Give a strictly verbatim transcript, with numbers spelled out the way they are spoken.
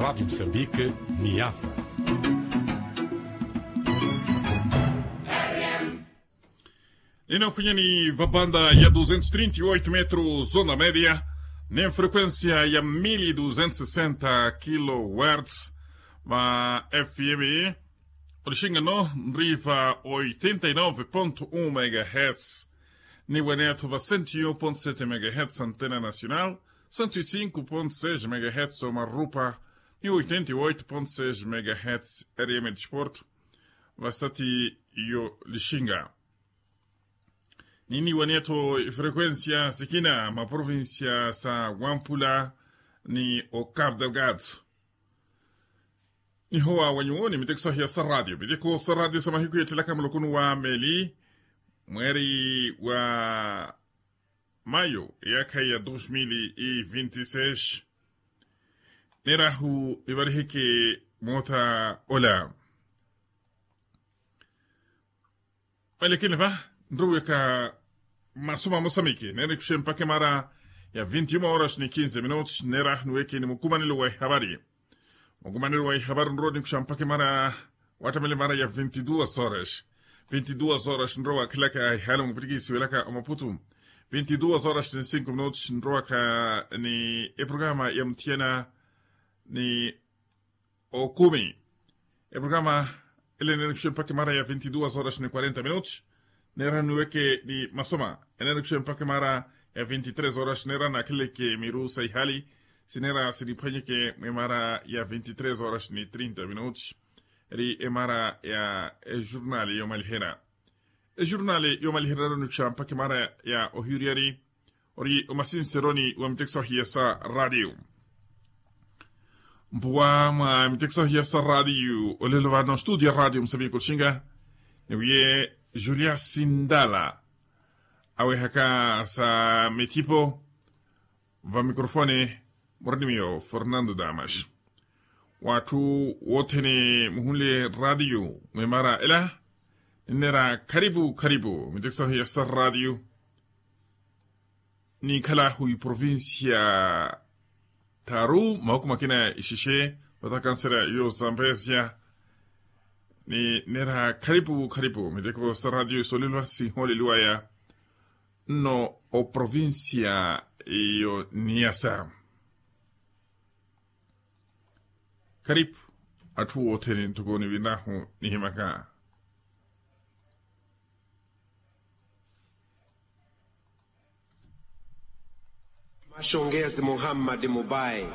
Rádio Moçambique, Niassa. Nino phwanyani vabanda ya duzentos trinta e oito metros zona media, ni frequência ya mil duzentos sessenta kilohertz, va F M. Olixingano nriva oitenta e nove ponto um megahertz, ni waneatho va cento e um ponto sete megahertz antena nacional, cento e cinco ponto seis megahertz omarupa, ni oitenta e oito ponto seis megahertz R M desporto. Vastati yo lixinga. Nini waneatho frequência sikina maprovincia sa wampula, ni o cap delgado. Nihowa wanyuwo ni miteko sahiya sa radio miteko sa radio sa mahiku yettelaka mulokunu wa meli, mweri wa mayo eyakha ya dos mil e vinte e seis. Nerahu nivariheke mota ola. Olekini va nruweka masuma mosamiki nene nikuxe mpaka emara ya vinti uma horas ni kinze minutos nera nuweke ni mukumanelo wa ihavari. Mukumanelo wa ihavari nrowa nikuxa mpaka emara wattamela emara ya vinti duas horas. Vinti duas horas nrowa wakhelaka ihali mupwitikisi welaka omaputu. Vinti duas horas ni cinko minutos nrowaka ni eprograma ya muthiyana ni okumi. Eprograma ele enenekuxe mpaka emara ya vinti duas horas ni quarenta minutos. Nera nuweke ni masoma enenekuxe mpaka emara ya vinti tres horas nera nakheleke miru sa ihali. Sinera siniphwanyeke mwemara ya vinti tres horas ni trinta minutos. Eri emara ya ejurnali yomalihera. Ejurnali yomalihera nikuxa mpaka emara ya ohiyuriyari. Ori omasinseroni wa miteko sahiya sa radio. Mpuwa mwa miteko sahiya sa radio olelo vano studio ya radio musamiku oxinga. Niwiye julia sindala awehaka sa mithipo. Va mikrofone murinimiyo fernando damas. Watthu wothene muhunle radio mwemara ela ninnera kharipu kharipu miteko sahiya sa radio. Ninkhala hu iprovincia tharu mahuku makina ixexe vata kansera yo zambesia. Ninnera kharipu kharipu miteko sa radio isolelwa sinholeliwaya nno oprovincia yo niasa. Kharipu atthu othene ntoko niwinahu nihimaka. Maxongezi muhammadi mubai.